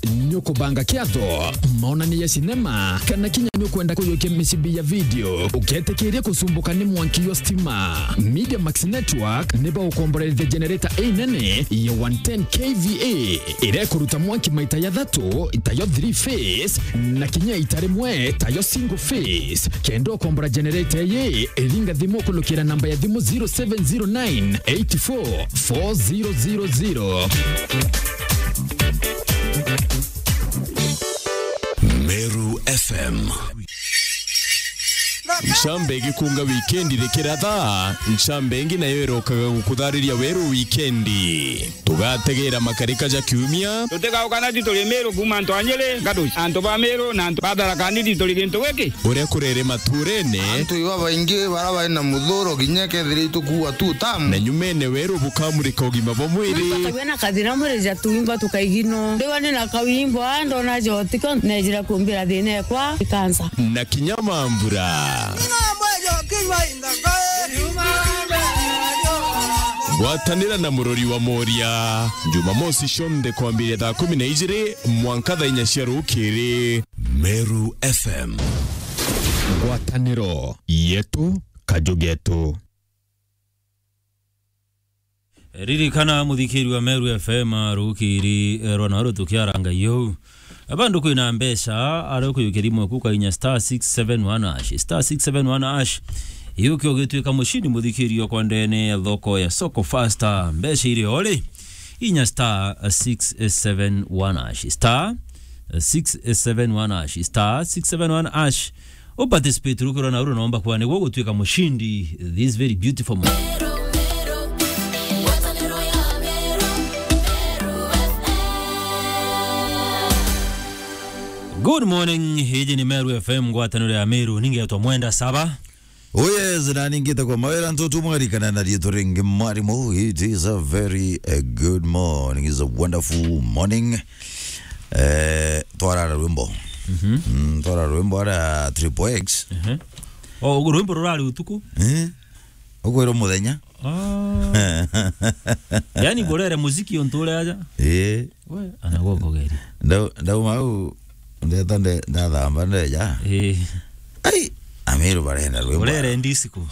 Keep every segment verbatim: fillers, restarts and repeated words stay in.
Ni ukubanga kiatho, maonani ya sinema, kana kinya ni ukwenda kuyukia micibi ya video, uketikiria kucumbuka ni mwanki jwa stima? Media Max Network ni bagukomboreria generator inene ya one ten K V A, iria ikuruta mwanki maita jathatu, tayo three phase, na kinya ita rimwe, tayo single phase. Kenda ukombora generator iyi, ringa thimu kulukira namba ya thimu zero seven zero nine eight four four zero zero zero. Meru F M. Ncambe igikunga wikendi rikiratha, ncambe ingi nayo irokaga gukuthariria weru wikendi. Tugategera makarika ja kiumia. Tutigauka na ti turi Meru kuuma antu a Nyeri, Gaduci, antu ba Meru na antu ba Tharaka Nithi turi gintu giki. Uria kurere maturene. Antu iba baingi bara bari na muthuro kinya kethira itukuua tu tamu. Na nyumene weru bukamurika ugima bwa mwiri. Twina kathina mwiri ja tuimba tukaigino. Ndiwa ni na kawimbo aa ndona jotiko nejira kumbira thina ekwa ikansa. Na kinya mambura. Gwatanira na murori wa Moria, Jumamosi cionthe kwambiria thaa kumi na ijiri mwanka thaa inya cia rukiri. Meru F M. Ngwataniro yetu, kaju getu. Ririkana, muthikiri wa Meru F M, rukiri, eh, rwa naru tukiaranga iu. Bandu kwina mbeca, ari ukuyukia thimu eku ukainya star six seven one hash, star six seven one hash. Iuke ugituika mucindi, muthikiri okwa ndene ya thoko ya Soko Faster. Mbeca iri ori, inya star six seven one hash, star six seven one hash, star six seven one hash. U participate rukiro na uru nomba kwa niguo gutuika mucindi this very beautiful morning. Good morning, hiji ni Meru F M, ngwataniro ya Meru, ningetwa Mwenda Saba. Oh yes, na ningite kwa mawira ntutu mwarikana na riitwa ringi mwarimu. It is a very, uh, good morning, it's a wonderful morning. Eh, twarara rwimbo. Mhm. Mm, twarara rwimbo ara Triple X. Mhm. O, rwimbo rurari utuku? Eh? Ukwirwo muthenya? Ah. Yani, ngurere muziki untu uria aja? Eh. We, ana goko geri. Ndau-, ndauma au, ndeta nde-, ndathamba ndeja. Eh. Ai, Amiru barenda rwimbo. Urere disco.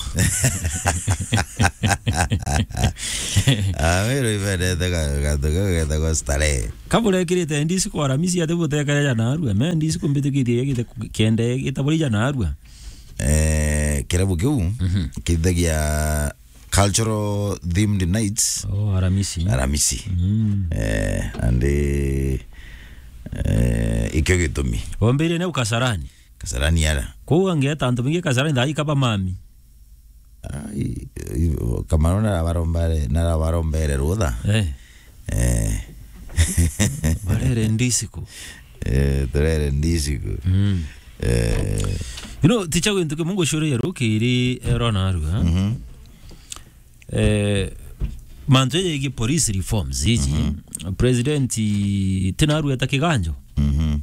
Amiru ibendete ga-, gathu kau getagwa starehe. Kaburekirite disco Aramisi ati butekereja narua. Me disco mbitikitie gite ku-, kende gitaburija narua. Eh, kirabu kiu, mhm, kithagia cultural themed nights. Oh, Aramisi. Aramisi. Mm. Eh, and, eh, eh, ikio gitumi. Wambirie nau Kasarani? Kasarani ara. Kou angeeta antu baingi Kasarani thaa ikaba mami. Ai, i-, Kamaro narabarombere-, narabarombere rutha. Eh. Eh. Barere disco. Eh, turere disco. Mm. Eh. You know, ticha gwintu kimwe ngucuria rukiri, eh, rona narua. Mhm. Eh, mantu jegie police reforms iji, mhm, president ti narua eta kiganjo. Mhm.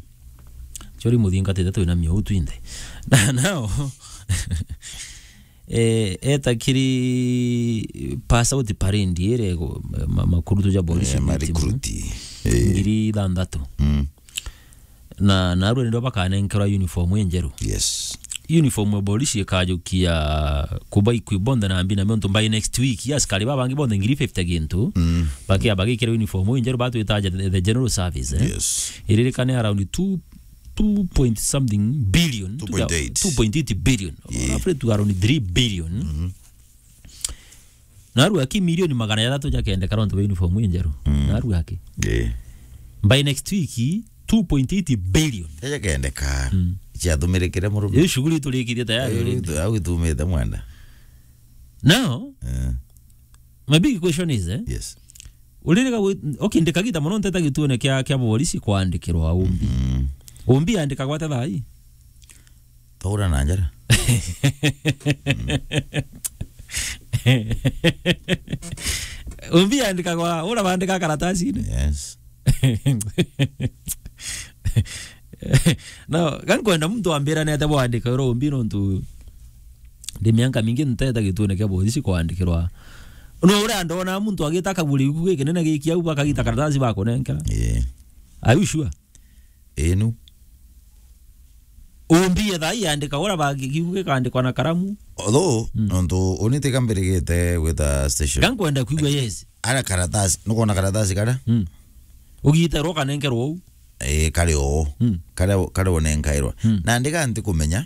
Chori muthingatite twina miau twinthe. Na nao, eh, eta kiri pass out parade ire go-, ma-, makurutu ja police. Eh, ma recruit. Eh. Ngiri ithanthatu. Mm. Na, na narua ndio bakanenkerwa uniform injeru. Yes. Uniform ya polisi ikajukia kuba ikwi bonthe na mbi na miontu by next week, yes, askari babangi bonthe ngiri fifty gintu, mm, bakia bagikira uniform injeru batwitaja the, the general service, eh? Yes. Iririkane around two, two point something billion, two point eight. Two point eight billion. Yeah. Roughly to around three billion. Mm-hmm. Narua ki milioni magana jathatu jakendeka nontu bwa uniform injeru. Mm. Narua ki? Eh. By next week, two point eight billion. Jajakendeka. Mm. Ciathumirikire murume. Iyo shughuli turikirie tayari already. Au itumite Mwenda. Now, eh, my big question is, eh? Yes. Uririka gwi-, okay, ndikagita muno nteta gituone kia, kia borisi kwandikirwa umbi. Mm. Umbi yandikagwa ata thaa ii? Twaura na njara. Umbi yandikagwa, ura bandika karatasi-ini? Yes. No, gankwenda muntu ambira nete bwandika ura umbi nontu ndi mianka mingi nteta gituone kia borisi kwandikirwa No uria ndona muntu agita kaguri giku gikinene giki au, bakagita karatasi bakunenkera. Eh. Are you sure? Inu. Umbie thaa iandika uria ba-, giku gikandikwa na karamu. Although, Mm. nontu uni tika mbirigite gwita station. Gankwenda kwigua, yes. Ara karatasi, nukwona karatasi karia? Mm. Ugiterwo kanenkerwo uu. Eh, kari oo. Mm. Kari, kari unenkairwa. Mm. Na ndiga ntikumenya,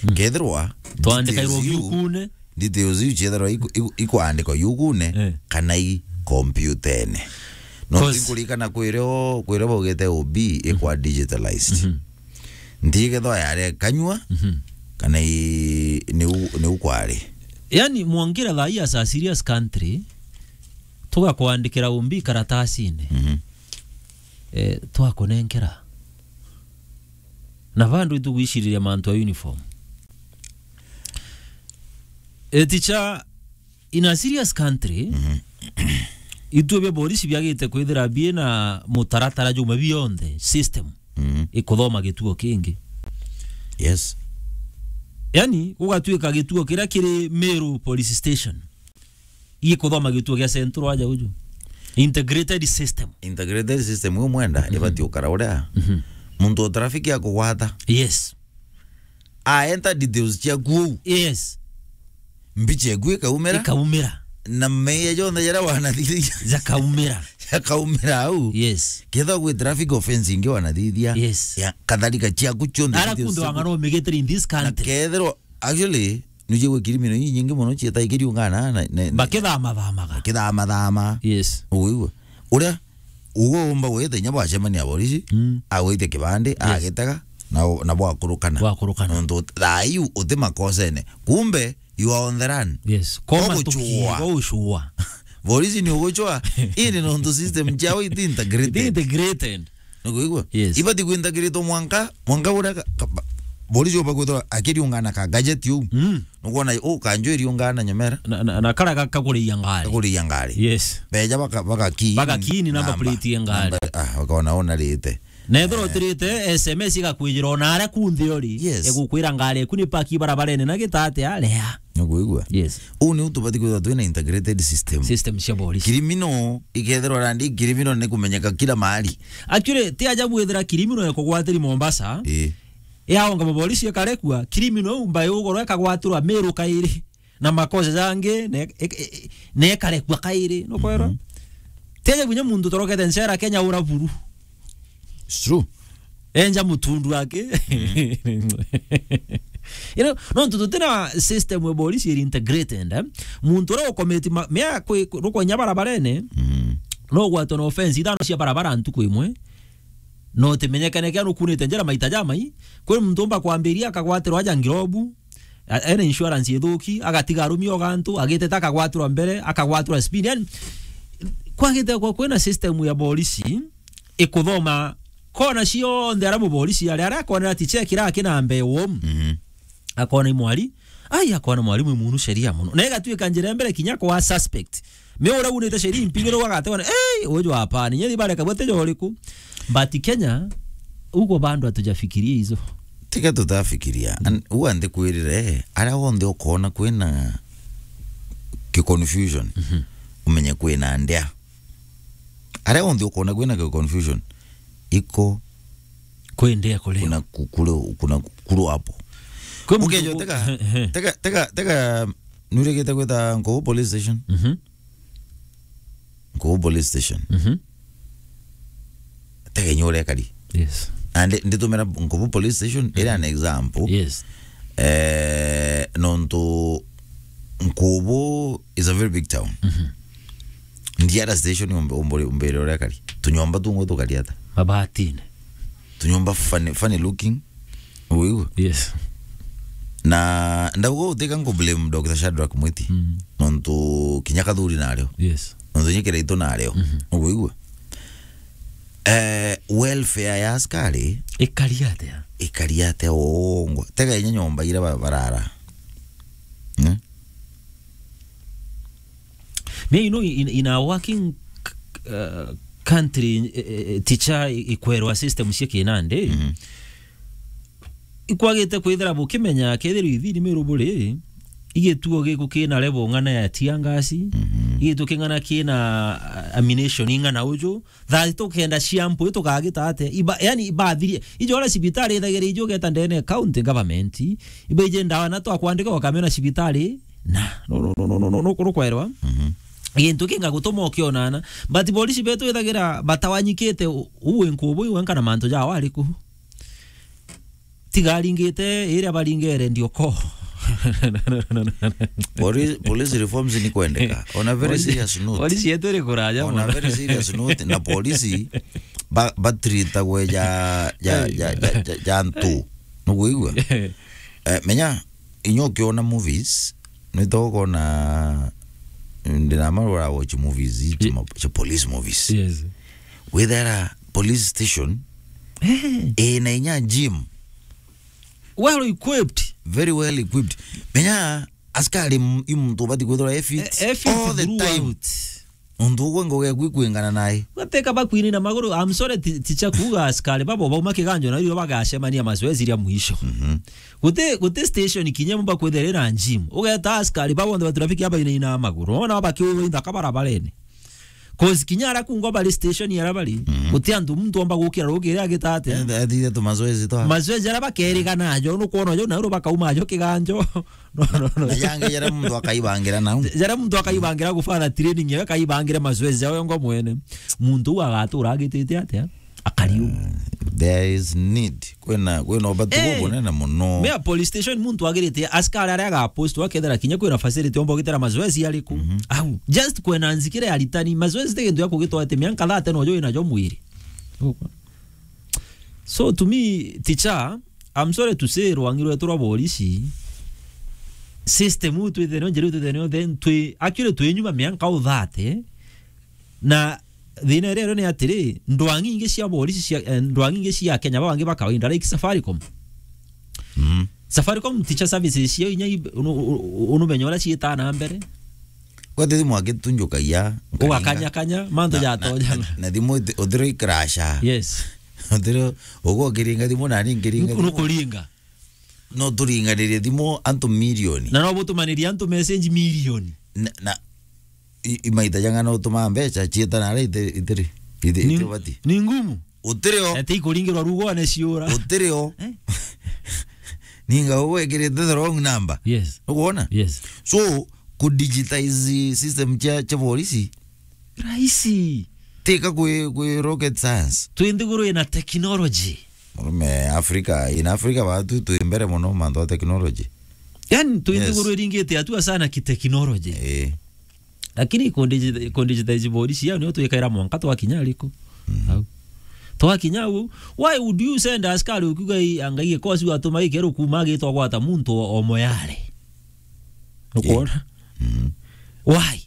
Mm. kethirwa Twandikairwo details iu, giukune. Details iu ciethirwa iku-, iku-, ikuandikwa yukune, Eh. kana i kompyutene. No 'Cause tinkuririkana kwirio, kwirio baugite O B ikwa digitalized. Mhm. Ntigethwa yari kanyua, Mhm. kana i, niu, niu kwari. Yani, mwangira thaa ii as a serious country, tugakwandikira O B karatasine. Mhm. Eh, twakunenkera. Na bandu itugwiciriria mantu a uniform. Eh, teacher, in a serious country, Mhm. ituo bia borisi biagite kwithira bina mutaratara juma bionthe, system, Mhm. ikuthoma gituo kingi. Yes. Yani, gugatuika gituo kiria kiri Meru Police Station. Ii kuthoma gituo gia Central aja uju. Integrated system. Integrated system, uyu mwenda, Mhm. ibati ukara uria. Mhm. Muntu wa traffic akugwata. Yes. Aenta details ciaku uu. Yes. Mbicha eku ikaumira. Ikaumira. Na meya jonthe jaria wanathithia. Jakaumira. Jakaumira au. Yes. Ketha gwi traffic offense ingi wanathithia. Yes. Ya, kadhalika ciaku cionthe Ara details kundu ciaku. Wang'ana umigitire in this Na country. Kethirwa Actually, nujigwe criminal inyingi mono cietaga ikiriungana na, na, na Bakithamathamaga. Bakithamathama. Yes. Uguigua? Uria, uguo umba gwita inya bwacemania na borisi, Mm. agwitia kibandi, Yes. agitega, na, na bwakurukana. Bwakurukana. Nontu thaa iu uti makosene. Kumbe, you are on the run. Yes. Koma Oguchua. tukiiga ucua. Borisi ni uguchwa, indi nontu system ciao iti integrated. Iti integrated. Nukuigua? Yes. Ibati kwintagiritwo mwanka, mwanka uria ka-, ka-, ba-, borisi uba kwithirwa akiriungana ka gadget uu. Mm. Nukwona, u, kanju iriungana nyomera. Na, na, na kara ga-, kakuriia ngari. Kakuriia ngari. Yes. Beja baka-, baka key in Baka key in number namba. plate ya ngari. Namba, ah, bakona ona rite. Na ethirwa Eh. utirite, S M S igakwijira ona aria kunthe uri. Yes. Igukwira ngari eku ni paki barabarene na gitate aria. Nukuigua? Yes. Uu niu tubati kwithirwa twina integrated system. System cia borisi. Criminal ikethirwa randi criminal ni kumenyeka kila mahali. Actually, ti ajabu withira criminal ekugwatiri Mombasa. Ii. Yaonga maborisi ekarekua, criminal umba yugorwa ekagwatirwa Meru kairi. Na makosa jangi, ne-, e-, e-, e-, nekarekua kairi. Nukwirwa? Mhm. Ti ajabu nya muntu torokete ncera Kenya ura buru. It's true. Enja mutundu wake. Mm. You know, nontu tutina system ya borisi iri integrated, eh? Muntu uria ukometi ma-, mea kwi-, rukonya barabarene, Mm. no gwatwa na offense ithano cia barabara ntuku imwe, no utimenyekane kia nukunite njira maita jamai. Kwi muntu umba kwambiria akagwatirwa aja ngirobu, A-, ena insurance ithuki, agatiga arumi o gantu, agiteta akagwatirwa mbere, akagwatirwa speed. Yani, kwagite kwa kwina system ya borisi, ikuthoma kona cionthe aria muborisi ari, aria akonera ti check ira akinambe wo. Mhm. Akona imwari, ai, akona mwarimu imunu sheria muno. Na igatuika njira ya mbere kinya kwa suspect. Me uria unite sheria impigiro wagategwa, "Ei, uju hapana, nyeri bareka bwete jo uriku?" But Kenya, ugo bando hatujafikiria hizo. Tiga tutafikiria. Mm. An-, uga ndikwirire, aria wonthe ukona kwina ki confusion, Mhm. umenye kwina ndia. Aria wonthe ukona kwina ki confusion, iko Kwendea kurio. Kuna ku-, kuru, kuna ku-, kuru hapo. Kwi muntu Ukejo, ku-, tega, he, he. tega, tega, tega, nurigite gwita Nkobo police station? Mhm. Nkobo police station. Mhm. Tega inya uria ekari. Yes. Na ndi-, nditumira Nkobo police station, iri an example. Yes. Eh, nontu Nkobo is a very big town. Mhm. Ndiara station umbe-, umbe-, umbire uria ekari. Tunyomba tungu tukari ata? Mabatine. Tunyomba funny, funny looking. Uigua? Yes. Na ndauga utika nku blame Doctor Shadrack Mwiti. Mm. Nontu kinya kathuri nario. Yes. Nontu kinya kiraitu nario. Mhm. Uigua? Eh, welfare ya askari Ikari atia? Ikari atia uongo. Tega inya nyomba ira ba-, barara. Hmm? Me, you know, in, in a working, uh, country, eh, eh, teacher i-, ikwerwa system cia kinandi, Mhm. ikwagite kwithira bukimenya kethirwa ithini Meru buri, igituo giku kina level ng'ana ya tear gas, Mhm. igituo king'ana kina, uh, ammunition ing'ana uju, thirty tukenda cia mpwi tukagita atia? Iba, yani ibathirie. Ijo uria cibitari ithagira ijo ugeta ndene county government, ibaije ndawa na twakwandika ukamena cibitari, na, no, no, no, no, no, no, no, no, kwerwa. Mhm. Gintu kinga gutuma ukionana. But polisi betu ithagira batawanyikite u-, uwe nkubu iwe nkana mantu jao ariku. Tiga aringite iria baringere ndioko. Poli-, police reforms ni kwendeka. On a very Polisi, serious note. Polisi yetu iri kuraja On a mono. Very serious note, na polisi ba-, batreatagwe ja, ja, Hey. ja, ja, ja, ja ntu. Nukuigua? Eh, menya, inya ukiona movies, nitokona, ndinamara watch movies, ici Ye-, ma-, cia police movies. Yes. Withera police station, Eh. ina inya gym. Well equipped. Very well equipped. Menya, askari m-, i muntu ubati kwithirwa e fit E-, e fit all the time. Throughout. Untu ugwe ngoga eku ikwingana nae. Gateka bakwini na maguru, I'm sorry, ti-, ticha kuuga askari babo bauma kiganjo na irio bagacemania mazoezi ria mwisho. Mhm. Guti, guti station kinya mumba kwithira na gym. Ugeta askari babo bonthe ba traffic abainaina maguru. Ona bakiuga inthaka barabarene. 'Cause kinya ara kungwa bari station ara bari, Mhm. guti antu muntu omba gukira rukiri agita atia? Eh, athithia tu mazoezi twa. Mazoezi ara bakerigana ajo, nukwona jo, na uru bakauma ajo kiganjo. No, no, no. Na jangi jara muntu akaibangira nau. Jara muntu akaibangira gufanya training, ya akaibangira mazoezi yao ngo mwene. Muntu uu agatura agitite atia? Akari uu. Uh, there is need. Kwina, kwina ubati Eh, bubunene muno. Mea police station muntu agirite askari aria agapost akethira kinya kwina facility omba ugitera mazoezi ariku. Mhm. Au, just kwena nzikire ya ritani, mazoezi ti gintu ya kugitwate mianka thirty nojo wina jo mwiri. So to me, teacher, I'm sorry to say, rwangi rwetu rwa borisi, system uu twithenio, njira uu twithenio, then twi, actually twi nyuma mianka u thirty, na thina iria irio ni atiri, ndwangi ingi cia borisi cia, eh, ndwangi ingi cia Kenya, babangi ba kawaida, like Safaricom. Mm. Safaricom teacher services cio inya i-, unu-, unu-, unumenya uria ciitaa na mbere. Kwete thimu akitunjukagia, Ugakanyakanya, mantu na, na, jatonya. Na, na thimu uthi-, uthiro ikrasha. Yes. Uthiro, ugwo ukiringa thimu nani nkiringa thimu. Nukuringa. No turinganirie thimu antu milioni. Na no butumanirie antu message milioni. Na, na, i-, imaita jang'ana utuma mbeca ciita na aria ite-, itiri. Ite-, Ni, itibati. Ni ngumu. Utiri o. Ete ikuringirwa rugone ciura. Utiri o. Eh? Ninga ugwikirite the wrong number. Yes. Ukwona? Yes. So, ku digitize system cia, cia borisi. Rahisi. Tika kwi, kwi rocket science. Twi nthiguru ina technology. Murume Africa, in Africa batu twi mbere muno mantu ma technology. Yani, twi Yes. nthiguru iringite hatua sana ki technology. Eh. Lakini ku digi-, ku digitize borisi yao nio twikaira mwanka twakinya ariku. Mhm. Au. Twakinya au, why would you send askari ukiuga i-, angai gikosi watuma gikeru kuma gitwa gwata muntu o, o moyare? Ukwona? Mhm. Why?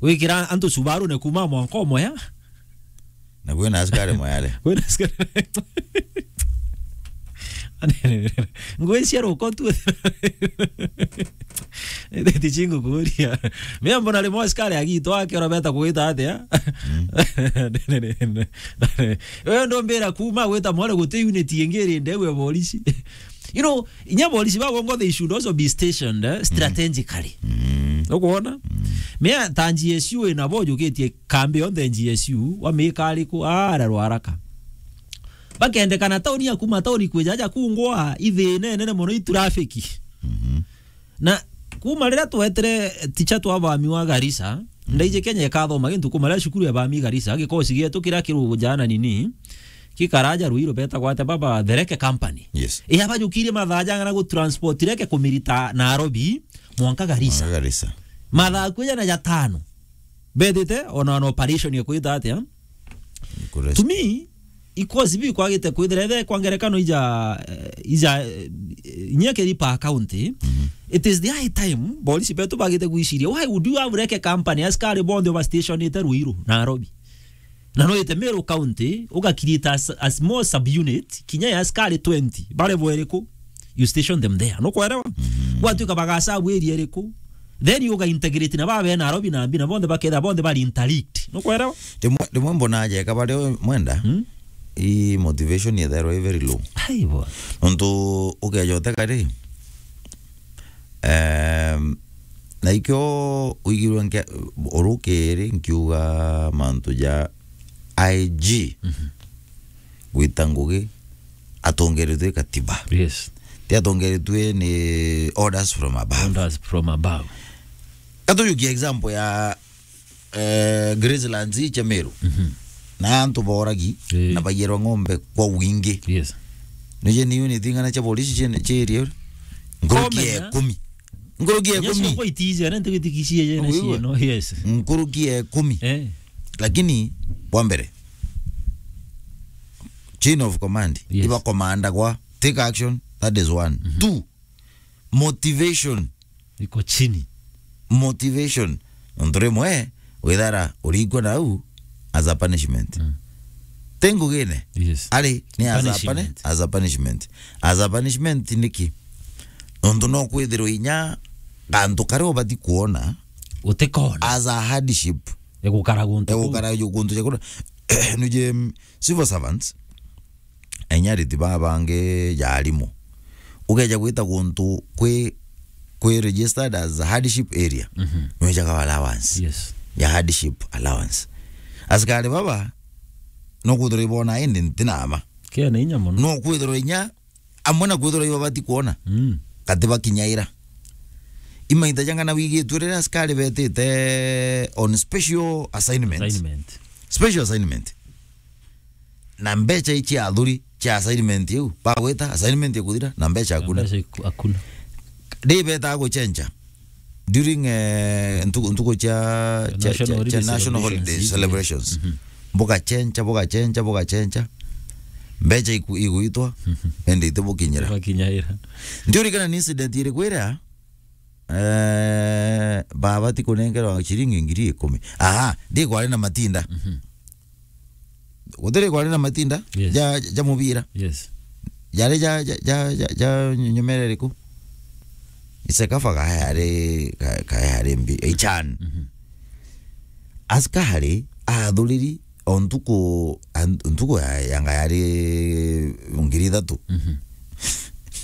Wikira antu Subaru ne kuma mwanka o moya? Na kwina askari moyare. Kwina askari. Ngwiciria ruko tu. Eti chingu kuria. Mimi mbona rimwe askari agitwa akero beta kugita atia? Mm. Wewe ndombira kuma gwita mwana guti unit ingiri ndewe borisi. You know, inya borisi ba bongo they should also be stationed, eh, Mm. strategically. Mm. Ukwona? Mm. Mea ta G S U ina bo jukitie kambi yonthe G S U, wamika ariku, ara rwaraka. Bakendekana tauni ya kuma tauni kwija aja kungwa, ithina inene mono i traffic. Mhm. Na kuma riria twetire ticha twa bami wa Garissa, Mhm. ndaije Kenya ikathoma gintu kuma riria cukuru ya bami Garissa, gikosi gietu kiria kirugu jana nini, kikaraja Ruiru betagwa atia baba, the Reke Company. Yes. Iya bajukirie mathaa jang'ana gu transport reke kumirita Nairobi, mwanka Garissa. Mwanka Garissa. Mathaa kwija na jatano. Bethite ona na operation ya kwita atia? Kurest- To me, ikosi bi kwagite kwithira ethe kwa ngerekano ija, eh, ija, eh, inya kiri per county, Mhm. it is the high time, borisi betu bagite gwiciria, why would you have Reke Company, askari bonthe oba stationite Ruiru, Nairobi? Na no ite Meru County, uga create a s-, a small subunit, kinya ya askari twenty, bare bweriku? You station them there. Nukwelewa? Mhm. Gwatuika bagasabu area iriku? Then you ga integrate na babe Nairobi na mbi na bonthe baketha bonthe bari interlinked. Nukwelewa? Rimwe, rimwe mbona aja eka bario mwenda, Hmm? i motivation yethairwa i very low. Ai bwana. Nontu ukeja uteka ri, eh, Na ikio uigirwe nke-, urukiri nkiuga mantu ja I G gwita ngugi atongeretwe katiba. Yes. Ti atongeretwe ni orders from above. Orders from above. Katujukia example ya, eh, Gracelands cia Meru. Mhm. Na antu boragi, eh, na baiyerwa ng'ombe kwa wingi. Yes. Nije ni unit ing'ana cia polisi cie, cie area? Nkuruki ya ikumi. Nkuruki ya ikumi. Kwa itiji, ana ntigitikicie je na cieno. Yes. Nkuruki ya ikumi. Eh. Lakini, wa mbere, chain of command. Yes. Iba commander kwa take action, that is one. Mhm. Two, motivation. Iko chini. Motivation. Nontu rimwe, withara urikwa nau as a punishment. Mm. Ti ngugine. Yes. Ari, ni as a puni-, punishment. As a punishment. As a punishment niki? Nontu no kwithirwa inya gantu karia ubati kuona utikona. As a hardship. Egukara guntu kuu. Egukara guntu ja kuna. Nuje, mm, civil servants, enyariti baa bangi ja arimu. Ugeja gwita guntu kwi, kwi registered as a hardship area, mhm, nwejaga allowance. Yes. Ya hardship allowance. Askari baba, no kwithirwa ibona indi ntinama. Kena inya mono. No kwithirwa inya, amwe na kwithirwa ibabati kuona. Mm. Kati bakinyaira. Imaita jang'ana wigitwe riria askari betite on special assignment. Assignment. Special assignment. Na mbecha ici athuri cia assignment iu, bagwita assignment ya kuthira, na mbecha hakuna. Mbecha iku-, hakuna. Ndi betaga guchencha during, eh, ntuku, ntuku cia, cia, national cia, cia holiday national celebrations, holiday celebrations. Mhm. Bugachencha, bugachencha, bugachencha. Mbecha iku-, iguitwa, mhm, ende itibukinyira. Itibukinyaira. Ndiurikana ni incident iriku iria, eh, baba ti kunengerwa ciringi ngiri ikumi. Aha, ndi kwari na matinda. Mhm. Gutiri kwari na matinda, yes, ja, ja mubira. Yes. Jari ja, ja, ja, ja, ja nyumera iriku? Ise kaba kayari, ka-, kayari mbi, ichan. Mhm. Askari athuriri o ntuku, an-, ntuku ya, yanga yari ngiri ithatu. Mhm.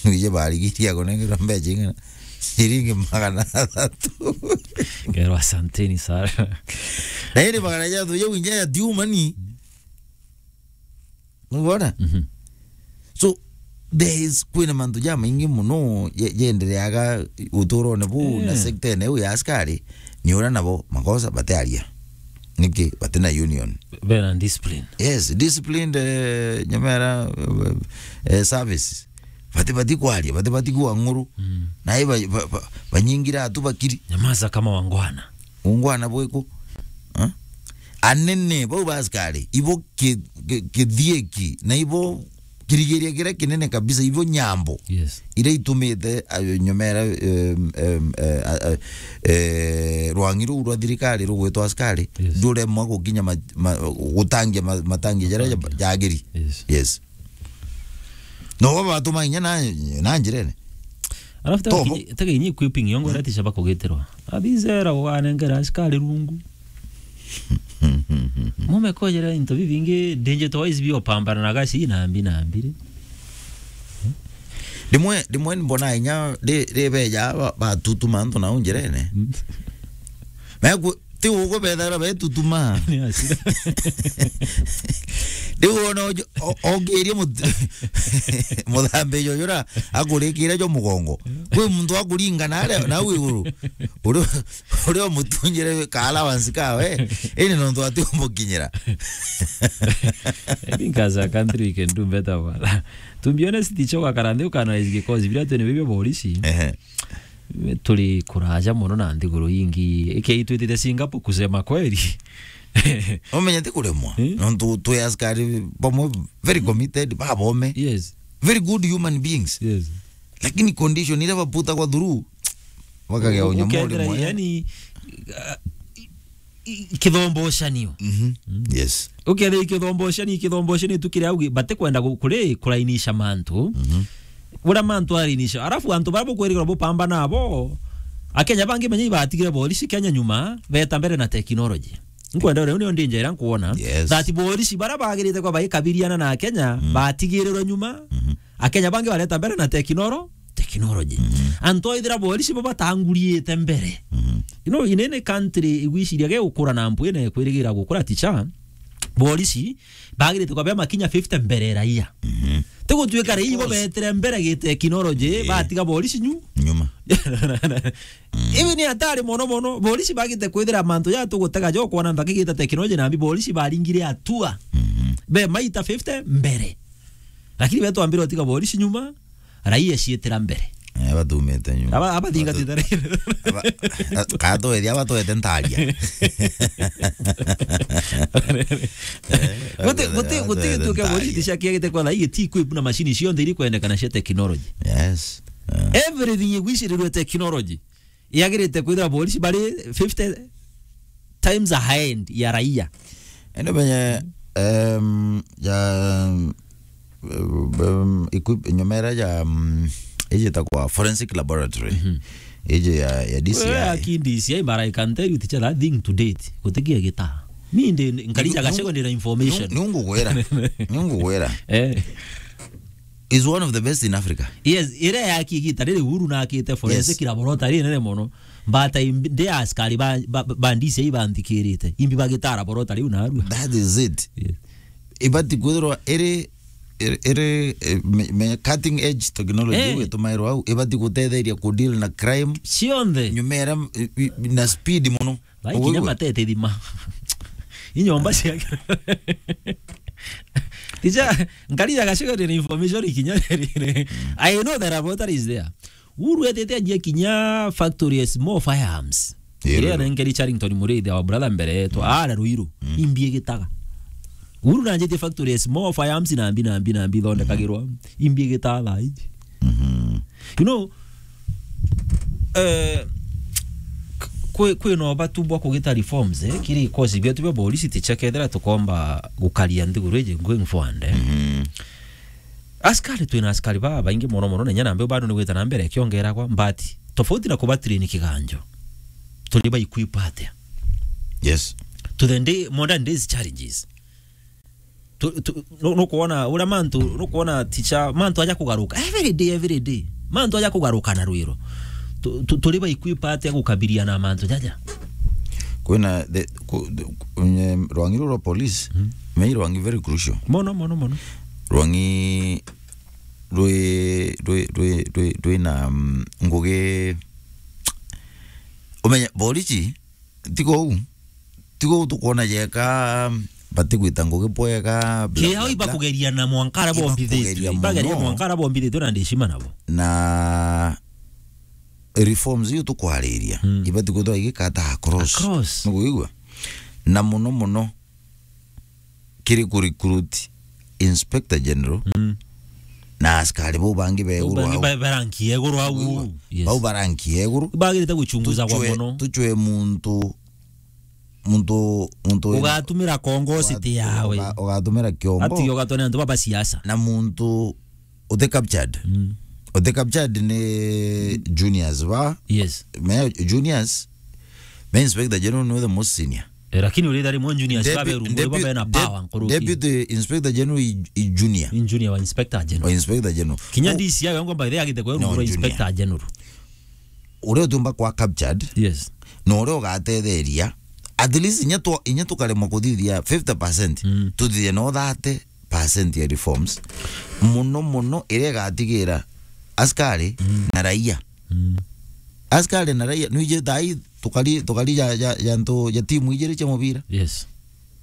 Nije barigiria kunengerwa mbecha ing'ana? Ciringi magana athatu. Ngerwa, "Asanteni sana." Na iri magana jathatu jau inya ya tiuma ni. Nubona? Mhm. So, there is, kwina mantu jamaingi mono je-, jendereaga uturone bu na, eh, sector ene iu ya askari, ni uria nabo makosa batiaria. Niki? Bati na union. Bena discipline. Yes, disciplined, eh, nyamera, eh, eh, service. Bati, bati kwaria, bati, bati kua ng'uru. Mm. Na i ba, ba, ba, banyingira atu bakiri. Nyamaza kama wangwana. Ungwana bwiku? Eh? Anene bau ba askari, ibo ki-, ki-, kithieki, na ibo kirigiria kiria kinene kabisa, ibo nyambo. Yes. Iria itumite, eh, nyomera, em, em, eh, a, a, eh, rwangi ruu rwa thirikari rugwitwa askari, yes, nduremwa gukinya ma-, ma-, gutangia ma-, matangi jaria ja-, jagiri. Yes. Yes. No baba batuma inya na, na njirene. Alafu tega tobo kinyi-, tega inyi equipping yongo, mm, rati shaba kugitirwa. Athizera uganengera askari rungu. Mume kojera into bibingi, danger to wise bio pambana na gaci na mbi na mbiri. Rimwe, rimwe mbona inya ri-, ribeja ba-, batutuma antu nau njirene. Mm. Meku-, ti uguo bethagirwa betutuma. Ni asira. Riu wona ojo-, o-, ongirie mut-, muthambi uju uria akurikire jo mugongo. Kwi muntu akuringa na aria, nau iguru. Uria, uria umutunyire ka allowance kawe, ini nontu ati umukinyira. I think as a country we can do better, bwana. To be honest, ticho gakara nthi ukanaise gikozi biria twene bibio borisi. Ehe. Turi kuraja mono na nthiguru ingi. Ikei twitite Singapore kusema kweli. Umenye ti kuremwa. Eh? Nontu twi askari bamwe very committed, babome. Yes. Very good human beings. Yes. Lakini condition iria baputagwa through, bakagea u-, unyamuri ukethira mwe. Yani, uh, i-, i-, kithombocanio. Mhm. Mm. Yes. Ukethira kithombocanio, kithombocanio tu kiria ugi-, batikwenda gu-, kuri kurainisha mantu. Mhm. Uria mantu arainisha. Alafu antu baria bukwirigirwa bupamba nabo, Akenya bangi menya ibatigire borisi Kenya nyuma, beta mbere na technology. Nkwenda uria, nio ndi njira iria nkuona. Yes. That borisi baria bagirite kwa baikabiriana na Akenya, mm, batigirirwe nyuma. Mhm. Akenya bangi bareta mbere na technolo-, technology. Mhm. Antu ethira borisi bo batanguriite mbere. Mhm. You know, in any country, igwiciria ge gukura na mpwine kwirigira gukura ticha, borisi bagirite kwambia makinya fifty mbere raia. Mhm. Ti gutuika raia ibo betere mbere gi technology, eh, batiga borisi nyu-, nyuma. Ibi ni hatari mono mono. Borisi bagite kwithira mantu ja tugutega jo kwona mpaka igita technology na mbi borisi baringire atua. Mhm. Be maita fifty mbere. Lakini be twambire utiga borisi nyuma, raia ciitira mbere. Eh, batumite nyuma. Aba, aba thingatite raia. Aba, a-, katwethia aba twete ntaria. Eh, guti, guti, guti gitu kia borisi ticia kiagite kwa raia ti equip na machine cionthe iri kwendekana cia technology. Yes. Eh. Everything igwicirirwe technology. Yagirite kwithira borisi bari fifty times ahead ya raia. Ende menye, em, ja, em, equip-, nyomera ja, mm, iji itagwa forensic laboratory. Mhm. Iji ya, ya D C I. Wewe aki D C I, but I can tell you, teacher, that thing to date, gutigia gita. Mi ndi, nkarijaga secondary information. Ni, ni ngugwira. Ni ngugwira. Eh. Is one of the best in Africa. Yes, ire yaki igita riri Uhuru na akite forensic, yes, laboratory nene mono. But I, ndi askari ba, ba, ba D C I banthikirite. Imbi bagita laboratory u narua. That is it. Yes. Ibati kwithirwa iri, iri, iri, eh, me, me cutting edge technology, eh, iu itumairwa au, ibati gutetheria ku deal na crime. Cionthe. Nyumera, i, i, na speed mono. Bai kinya matete thima. Inyomba cia Tija, nkari ya gacego ni information ikinya riri. I know the laboratory is there. Uhuru etete anjia kinya factory ya small firearms. Iri anenkeri Charrington Muriithi, our brother mbere yetu, ara Ruiru, imbi igitaga. Uhuru nanjitie factory ya small firearms na mbi, na mbi, na mbi ithondekagirwa. Imbi igitaga thaa iji. Mhm. You know, eh, k-, kwi, kwi na ubatu bwa kugita reforms, eh, kiri ikosi bietu bia borisi ticha kethira tukomba gukaria nthiguru iji going forward, eh. Mhm. Askari, twina askari babaingi mono mono, na inya nambe bado ni gwita na mbere ikiongeragwa, but tofauti na kuba train kiganjo, turi ba equip atia? Yes. To the day, modern days challenges. Tu, tu, nu-, nukwona uria mantu, nukwona ticha, mantu aja kugaruka. Every day, every day. Mantu aja kugaruka na rwiro. Tu, tu, turi ba equip atia gukabiliana na mantu jaja? Kwina the, ku, the, ku, nye, rwangi ruru rwa police, mm, me rwangi very crucial. Mono, mono, mono. Rwangi rwi, rwi, rwi, rwi, rwina, mm, ngugi, umenye, borisi, tigo u, tigo u tukwona jeka, batigwita ngugi bwega, bla, bla, bla. Ibakugeria na mwankara bombithitwe. Ibakugeria mono. Ibageria mwankara bombithitwe na ndishima nabo. Na reforms iu tukwariria, mm, ibati kwithirwa igikata across. Across. Nukwigua? Na mono mono, kiri ku recruit Inspector General, mm, na askari bau bangi ba iguru au. Bau bangi ba, ba rank ya iguru au. Wigua? Yes. Bau ba rank ya iguru. Bagirite guchunguzagwa mono. Tuchwe muntu, muntu, muntu wina ugatumira kongo uga-, city yawe. Uga-, ugatumira kiombo. Ati ugatone antu baba siasa. Na muntu uti captured. Mm. Uti captured ni juniors ba. Yes. Me juniors. Me Inspector General ni the most senior. Eh, lakini urithari mo juniors babe rungu, babe na power nkuruki. Deputy Inspector General i, i junior. In junior wa Inspector General. Wa Inspector General. Kinya D C I wangu by the way agite kwa rungu rwa Inspector General. Uria utumba kwa captured. Yes. Na uria ugatetheria. At least inya tu, inya tukaremwa kuthithia fifty percent. Mm. Tuthithie no thirty percent ya reforms. Muno muno iria igatigira askari, mm, na raia. Mm. Askari na raia, nwije thai tukari, tukari ja, ja, ja ntu, ja timu ijiri cia mubira. Yes.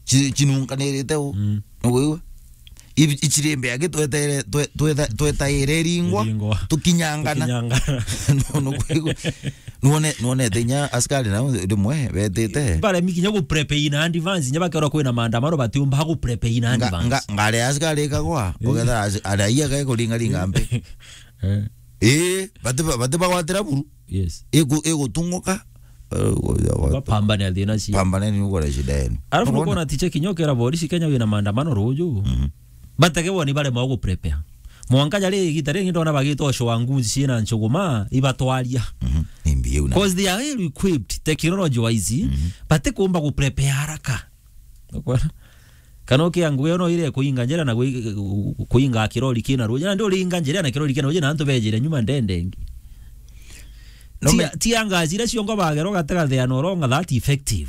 Chi-, chinunkanirite u. Mm. Nukwigua? Ibi-, ichirimbe agi twetere, twe-, twetha-, twetaire iringwa, iringwa, tukinyangana. Tukinyangana. Nu-, nukwigua? Nuone, nuonete inya askari nao rimwe betite. Baremi kinya gu prep in advance, inya bakerwa kwina maandamano batiumba gu prep in advance. Nga-, nga-, ngari ya askari ikagwa, eh, ugetha as-, araia gae kuringaringa mpi. Eh. Ii, bati ba-, bati bagwatira buru. Yes. Igu-, igutunguka, eh, gu-, gu-, bapambane thina cio. Pambane ni uko na shida yenu. Alafu nukwona tiche kinya ukera borisi Kenya wina maandamano ruju. Mhm. Batege woni barema gu prepare. Mwanka jari igita ringi ndona bagitwa show nguzi ciina nchuguma, ibatwaria. Mhm. Imbi iu na. 'Cause they are well equipped, technology wise, mhm, batikumba gu prepare haraka. Nukwona? Kana ukia ngugi ino ire kuinga njira na kui-, kuinga kirori kina ruji. Na ndi uringa njira na kirori kina ruji na antu bejire nyuma ndende ingi. No Tia, me- tia ngasi iria ciongo bagera ugatega the no wrong that effective.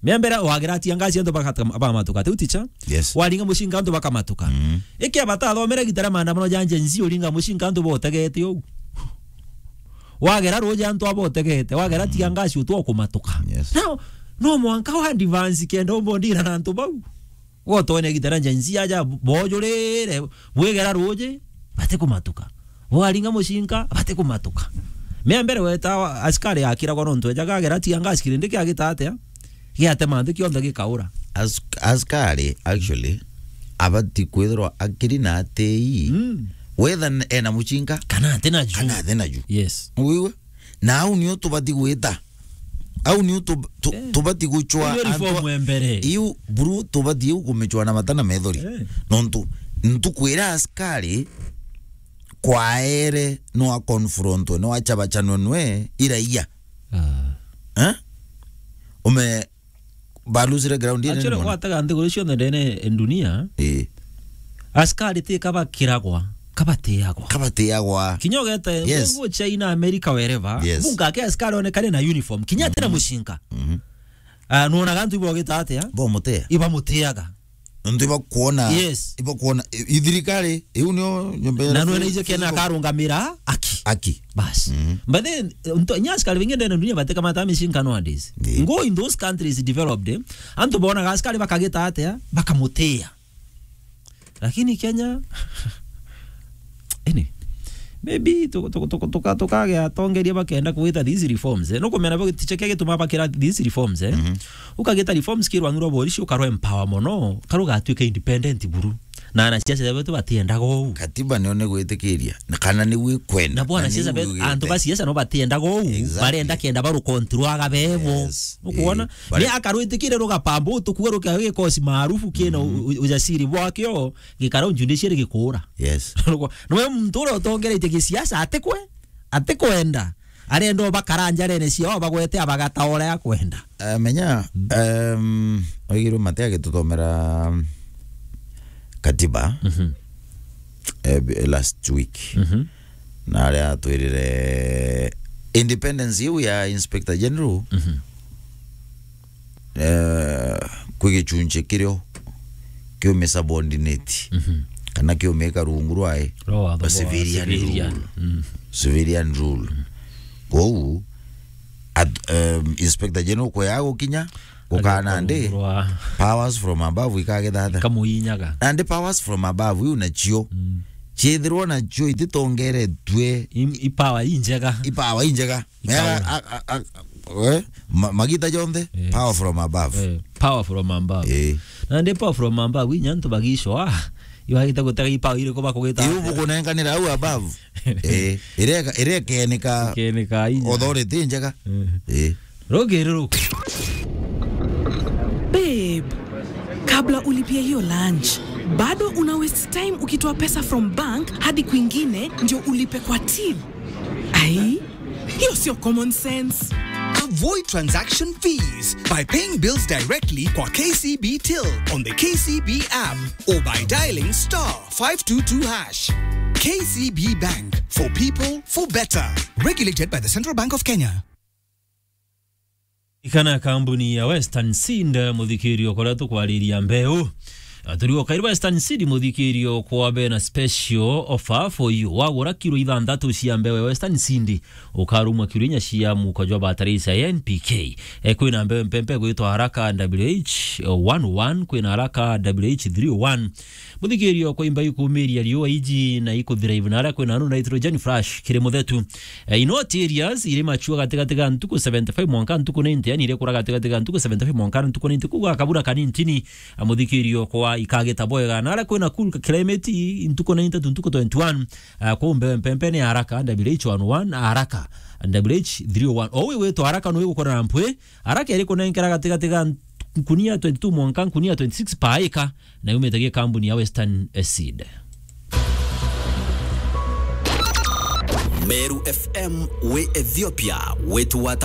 Mea mbere wagira tia ngasi antu bakata-, bakamatuka. Tiu ticha? Yes. Waringa mucinga antu bakamatuka. Mm. Ikia batathomere gitara maandamano ja Gen Z uringa mucinga antu botegete uu. Wagera ruji antu abotegete, wagera tia ngasi utwa kumatuka. Yes. Now, no mwanka wa advance kenda umbondira na antu bau. Gotone gitara Gen Z aja bojurire, bwigera ruji, batikumatuka. Bwaringa mucinka, batikumatuka. Mea mbere weta askari akiragwa nontu ejaga agera tia ngasi kirindi kiagita atia? Giatema nthi kionthe gikaura. As-, askari, actually, abati kwithirwa akiri na atii. Mm. Whether n-, ena mucinka, kana atina ju. Kana atina ju. Yes. Wiwe? Na au nio tubati gwita. Au nio tu-, tu-, Eh. tubati gucwa Hiyo antu reform a-, ya mbere. Iu, buru, tubati iu kumicwa na mata na methori. Eh. Nontu, ntuku iria askari kwaere no a confrontwe, no achabachanwe nwe iraia. Ah. Eh? Ume, balusire ground ine. Actually, nini mwana? Gwataga nthiguru cionthe ndene dunia, eh, askari ti kabakiragwa, kabatiagwa. Kabatiagwa. Kinya ugete, yes, ngu China, America, wherever, yes, bunga ke askari onekane na uniform, kinya atina mucinka. Mhm. Ah, nuonaga antu ibogita atia? Bomutia. Ibamutiaga. Nontu ibakwona, yes, ibakwona, i-, i thirikari, iu nio nyomba ya na nwe na ijo kena akarungamira aki. Aki. Bas. Mhm. But then, nto-, nya askari baingi ndene dunia batekamata micinka nowadays. Yeah. Ngo in those countries developed, eh, antu bonaga askari bakagita atia, bakamutia. Lakini Kenya, anyway, maybe tu-, tu-, tu-, tuka-, tukagea atongeria bakenda kugita these reforms, eh. Nukumenya bo gitiche kia gituma bakira these reforms, eh. Mhm. Ukagita reforms kirwa ngiro borishi ukarwa empower mono, karuga atuike independent buru. Na anasiasa betu batiendaga uu. Katiba nio ni gwitikiria. Na kana ni gwikwenda. Na bo anasiasa betu, antu ba siasa no batiendaga uu. Exactly. Barenda kenda barukontrolaga bebo. Yes. Ukuona? Eh, ni akarwitikire rugapamba utukuga rukia gikosi maarufu kina u-, u-, ujasiri bwakio, gikara judiciary gikura. Yes. Nwe muntu uria utongeretie gisiasa atikwe, atikwenda. Arenda o bakara njarene ciao, bagwete abagata uria akwenda. Eh, menya, mm, em, oigirwe mate agituthomera, mm, katiba, mhm, eh, b-, last week. Mhm. Na aria atwirire independence iu ya Inspector General, mhm, eh, kwi gichunchi kirio kiumisubordinate, mhm, kana kiumika rungu rwae, rwa watho bwa civilian rule. Mm. Civilian rule. Mm. Kwou, at-, um, Inspector General kweya gukinya, gukana ndi, powers from above ikagithata. Ikamuinyaga. Na ndi powers from above iu nacio, mm, ciithirwa nacio ititongeretue. I, i power injega. I power injega. Ikaura. Mea, a, a, a, we, ma-, magita jonthe, eh, power from above. Eh, power from above. Eh. Na ndi power from above, inya antu bagicwa, ah, iwagite gutega i power iriku bakugita. Iu bukunenkanira au above. Eh, ireka, irekenika. Ikeneka inya. Authority njega. Eh. Eh. Rugiri ruku. Babe, kabla ulipie hiyo lunch, bado una waste time ukitoa pesa from bank hadi kwingine ndio ulipe kwa till. Ai, hiyo sio common sense. Avoid transaction fees by paying bills directly kwa K C B Till on the K C B app or by dialing star five two two hash. K C B Bank, for people, for better. Regulated by the Central Bank of Kenya. Ikana kambuni ya Western Seed, muthikirio, kuria tukwariria mbeu. Aturi o kairi Western Seed, muthikirio, kwa bena special offer for you. Wagura kilo ithanthatu cia mbeu ya Western Seed, ukarumwa kilo inya cia muko jwa bataraitha ya N P K. E, kwina mbeu mpempe gwitwa Haraka W H one one, kwina Haraka W H three one. Muthikirio, kwa imba ikumiria riua iji na ikuthira ivu na aria kwina anu nitrogen flash kiri muthetu. Eh, in hot areas, iri machua gatigati ga ntuku seventy-five mwanka ntuku ninety, yani iri kura gatigati ga ntuku seventy-five mwanka ntuku ninety, kuga kabura kanintini, a, muthikirio kwa ikagita bwega. Na aria kwina cool climate, ntuku ninety to ntuku twenty-one, a, kwa umbe mpempe ni Haraka, W H one one, Haraka, W H three one. O wi witwa Haraka no igukora na mpwi, Haraka iri kunenkera gatigati ga nkunia twenty-two mwanka nkunia twenty-six per acre, na yumite gi kambuni ya Western Seed. Meru F M wi Ethiopia, wetu wa